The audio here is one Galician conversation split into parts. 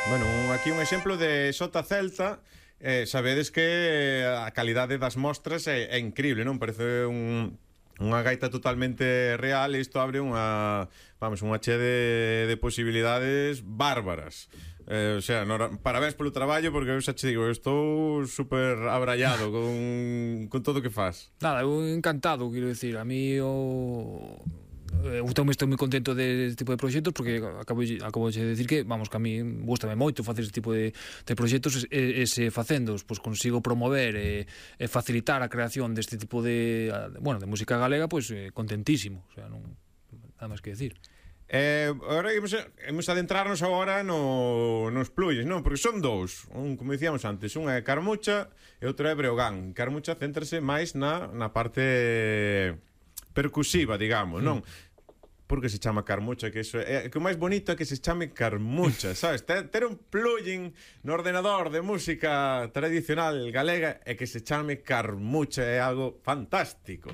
Bueno, aquí un exemplo de Sota Celta. Sabedes que a calidade das mostras é increíble, non? Parece unha gaita totalmente real, e isto abre unha che de posibilidades bárbaras. O sea, parabéns polo traballo, porque eu xa che digo, eu estou super abrallado con todo o que faz. Nada, eu encantado, quero dicir, a mí eu tamén estou moi contento deste tipo de proxectos, porque acabo de decir que, vamos, que a mí gustame moito facer este tipo de proxectos, e se facéndoos, pois consigo promover e facilitar a creación deste tipo de música galega, pois contentísimo, o sea, non nada máis que decir. Agora imos adentrarnos agora nos pluyes, non? Porque son dous, como dicíamos antes, un é Carmucha e outro é Breogán. Carmucha céntrase máis na parte percusiva, digamos, non? Porque se chama Carmucha, que iso é que o máis bonito é que se chame Carmucha, sabes? Ter un plugin no ordenador de música tradicional galega e que se chame Carmucha é algo fantástico.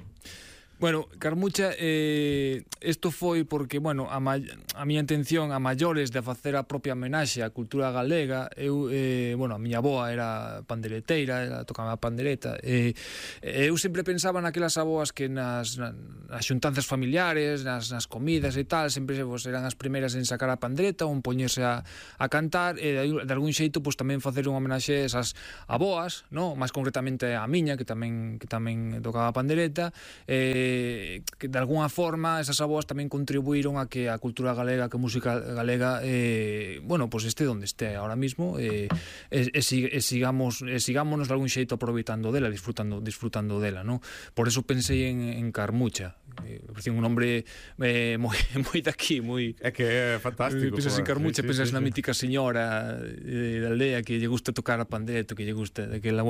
Bueno, Carmucha, isto foi porque, bueno, a miña intención a maiores de facer a propia homenaxe á cultura galega. Eu, a miña avoa era pandereteira, ela tocaba a pandereta, eu sempre pensaba naquelas avoas que nas xuntanzas familiares, nas comidas e tal, sempre eran as primeiras en sacar a pandereta ou en poñerse a cantar, e de algún xeito tamén facer unha homenaxe a esas avoas, no? Máis concretamente a miña, que tamén tocaba a pandereta, que de alguna forma esas avoas tamén contribuíron a que a cultura galega, que a música galega este onde este ahora mismo, sigámonos de algún xeito aproveitando dela, disfrutando dela, no? Por eso pensei en Carmucha, parecía un nombre moi daqui, moi... É que é fantástico. Pensas en Carmucha, pensas na mítica señora da aldea que lle gusta tocar a pandereta, que lle gusta daquela,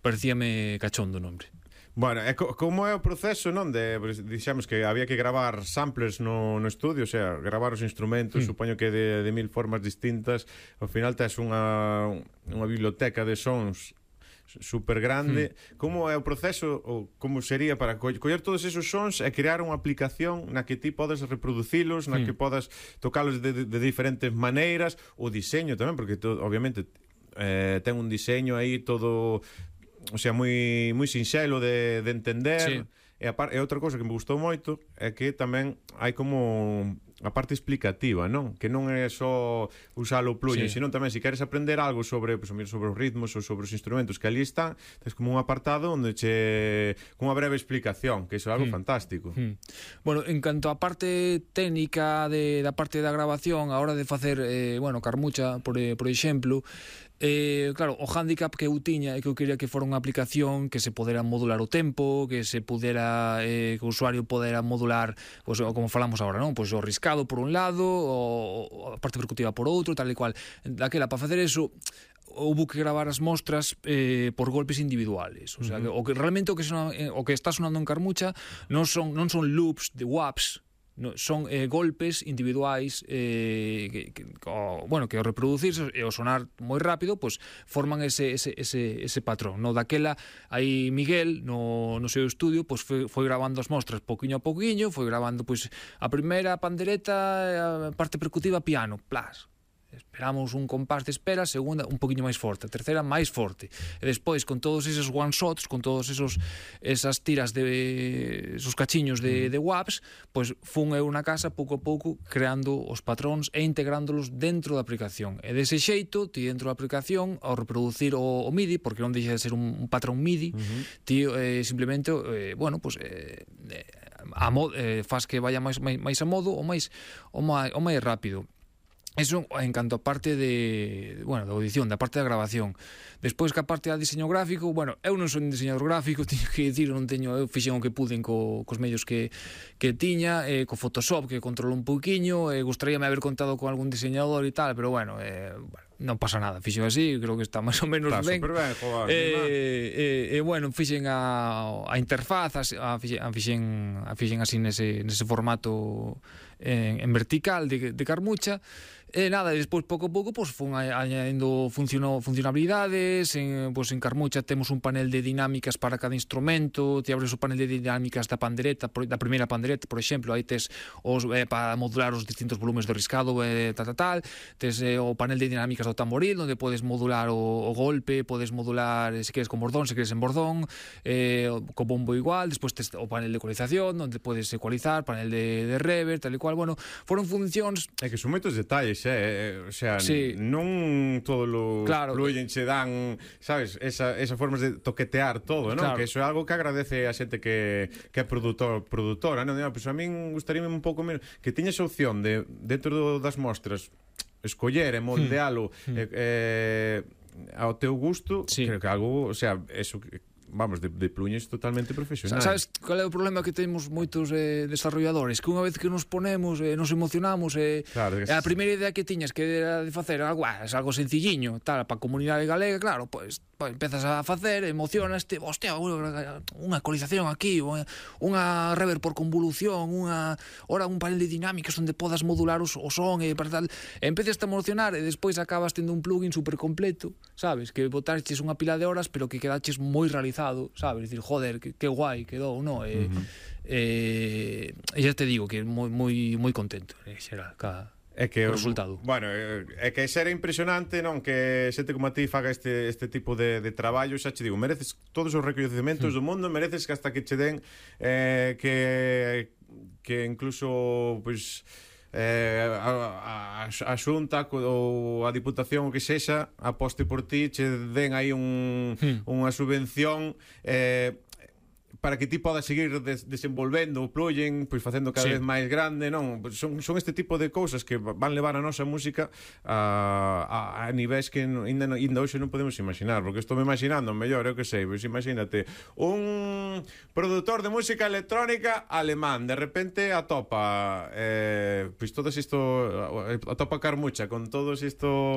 parecíame cachondo o nombre. Bueno, como é o proceso, non? Dixemos que había que gravar samplers no estudio, o sea, gravar os instrumentos, supoño que de mil formas distintas. Ao final tes unha biblioteca de sons super grande. Como é o proceso, ou como sería para coller todos esos sons e crear unha aplicación na que ti podes reproducilos, na que podas tocalos de diferentes maneiras? O diseño tamén, porque obviamente ten un diseño aí todo... O sea, moi sinxelo de entender. Sí. E outra cousa que me gustou moito é que tamén hai como a parte explicativa, non? Que non é só usar o plugin, sino tamén se queres aprender algo sobre os ritmos ou sobre os instrumentos que ali están, tens como un apartado onde con unha breve explicación, que iso é algo fantástico. Bueno, en canto á parte técnica da parte da grabación, a hora de facer, Carmucha, por exemplo, claro, o hándicap que eu tiña é que eu quería que fora unha aplicación que se podera modular o tempo, que se pudera, que o usuario podera modular, pois, como falamos agora, non? Pois o riscado por un lado, o a parte percutiva por outro, tal e cual. Daquela, para facer eso, houve que gravar as mostras por golpes individuales. O sea, que realmente o que está sonando en Carmucha non son loops de WAPs, no, son golpes individuais que ao reproducirse e ao sonar moi rápido, pois forman ese patrón, no? Daquela aí Miguel no seu estudio pois foi grabando as mostras pouquiño a pouquiño, foi grabando pois a primeira pandereta, a parte percutiva piano, plas. Esperamos un compás de espera, a segunda un poquinho máis forte, a terceira máis forte, e despois con todos esos one shots, con todos esas tiras esos cachiños de WAPs, pois fun eu na casa pouco a pouco creando os patróns e integrándolos dentro da aplicación, e dese xeito ti dentro da aplicación ao reproducir o MIDI, porque non deixa de ser un patrón MIDI, ti simplemente faz que vaya máis a modo ou máis rápido. Eso en canto a parte da audición, da parte da grabación. Despois que a parte da diseño gráfico, eu non son diseñador gráfico, teño que dicir, eu fixen o que puden cos medios que tiña, co Photoshop, que controlo un pouquiño, gustaríame haber contado con algún diseñador e tal, pero non pasa nada, fixen así, creo que está máis ou menos ben. Fixen a interfaz, fixen así nese formato en vertical de Carmucha. E nada, despois pouco a pouco pues, fun añadindo funcionalidades. En Carmucha temos un panel de dinámicas para cada instrumento. Te abres o panel de dinámicas da pandereta, da primeira pandereta, por exemplo, aí tes para modular os distintos volumes do riscado, tal. Tes o panel de dinámicas do tamboril, onde podes modular o golpe, podes modular se queres con bordón, se queres en bordón, co bombo igual. Despois tes o panel de ecualización, onde podes ecualizar, panel de reverb, tal e cual. Bueno, foron funcións... É que son moitos detalles, o sea, sí. Non todos os plugins se dan, sabes, esa formas de toquetear todo, non? Claro. Que eso é algo que agradece a xente que é produtora, non? Pois a min gustaríame un pouco menos que tiñas a opción de, dentro das mostras, escoller e moldealo ao teu gusto, sí. Creo que algo, o sea, eso... Vamos, de plugins totalmente profesionais. Sabes qual é o problema que temos moitos desarrolladores? Que unha vez que nos ponemos, nos emocionamos, claro, a primeira idea que tiñas que era de facer algo, é algo sencilliño, tal, para a comunidade galega, claro, pois empezas a facer, emocionaste, hostia, unha ecualización aquí, unha reverb por convolución, ora un panel de dinámicas onde podas modular o son e para tal, empezas a emocionar e despois acabas tendo un plugin super completo, sabes, que botaches unha pila de horas pero que quedaches moi realizado, sabes, dicir, joder, que guai quedou, non? E xa te digo que moi contento, será é que o resultado. Bueno, é que será impresionante, non, que xente como a ti faga este tipo de traballo, xa che digo, mereces todos os recoñecementos do mundo, mereces que hasta que che den que incluso pois a Xunta ou a Diputación o que sexa aposte por ti, che den aí unha subvención para que ti podas seguir desenvolvendo o plugin, pois facendo cada vez máis grande, non? Son este tipo de cousas que van levar a nosa música a niveis que ainda hoxe non podemos imaginar, porque estou me imaginando mellor, eu que sei, pois imagínate un produtor de música electrónica alemán, de repente atopa pois todo isto, atopa Carmucha con todos isto